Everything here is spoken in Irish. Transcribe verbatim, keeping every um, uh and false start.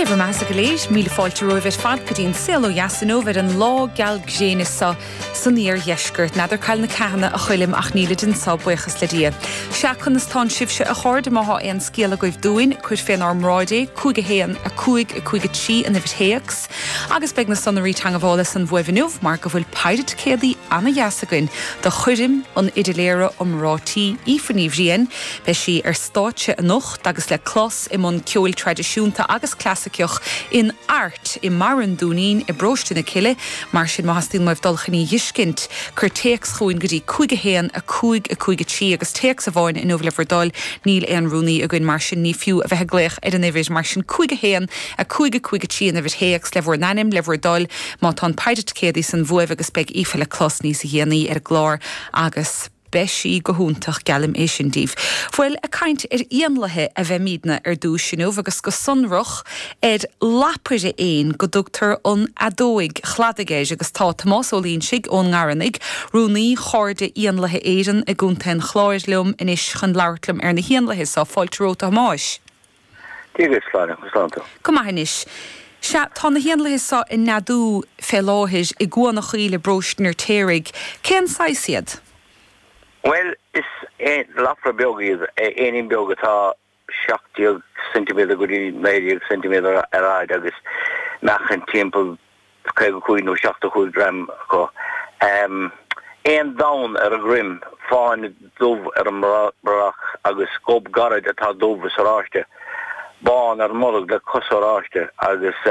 Dé bhur mbeatha go léir, míle fáilte romhaibh ar fad go dtí an Saol Ó Dheas inniu ar an lá geal gréine seo san iardheisceart. N'fheadar cá bhfuil na ceathanna a Choilm ach nílid anseo, buíochas le Dia. Sea, conas tánn sibhse a chairde má thá aon scéal agaibh dúinn, cuir fénár mbráid é, cúig a haon, a cúig, a cúig a trí an uimhir théacs. Agus beidh na sonraí teagmhála san uaibh inniu mar go bhfuil péire ticéadaí ana-dheas againn do choirm an fhidléara iomráití Aoife Ní Bhriain. Beidh sí ar stáitse anocht agus le clos i mbun ceoil traidisiúnta agus clasaiceach in Art i mBarra an Dúinín i bParóiste na Cille, mar sin má theastaíonn uaibh dul chun í dh'fheiscint, cuir téacs chugainn go dtí cúig a haon, a cúig, a cúig a trí agus téacs amháin inniu le bhur dtoil, níl aon rúnaí againn mar sin ní fiú a bheith ag glaoch ar an uimhir, mar sin cúig a haon, a cúig, a cúig a trí an uimhir théacs le bhur n-ainm le bhur dtoil má tá an péire ticéadaí san uaibh agus beidh Aoife le clos níos dhéanaí ar an gclár agus beidh sí go hiontach geallaim é sin daoibh. Bhuel, ag caint ar éanlaithe a bheimidne ar dtús inniu agus go sonrach ar lapaire éin go dtugtar an fheadóig chladaigh air agus tá Tomás Ó Loingsigh ón nGarranaigh, rúnaí Chairde Éanlaithe Éireann i gContae an Chláir liom anois chun labhairt liom ar na héanlaithe seo. Fáilte romhat a Thomáis. Dia duit, Sláine, conas tánn tú? Go maith anois. Sea, tá na héanlaithe seo ag neadú fé láthair i gCuan a' Choill i bparóiste an Fheirtéaraigh. Cén saghas iad? Bhuel, is lapaire beag iad, éinín beag atá seacht déag ceintiméadar go dtí naoi déag ceintiméadar ar fhaid agus meáchan timpeall caoga cúig nó seachtó cúig gram acu. Aon donn ar a dhroim, fáinne dubh ar an mbrothach agus gob gairid atá dubh is oráiste, bán ar an mbolg le cosa oráiste agus.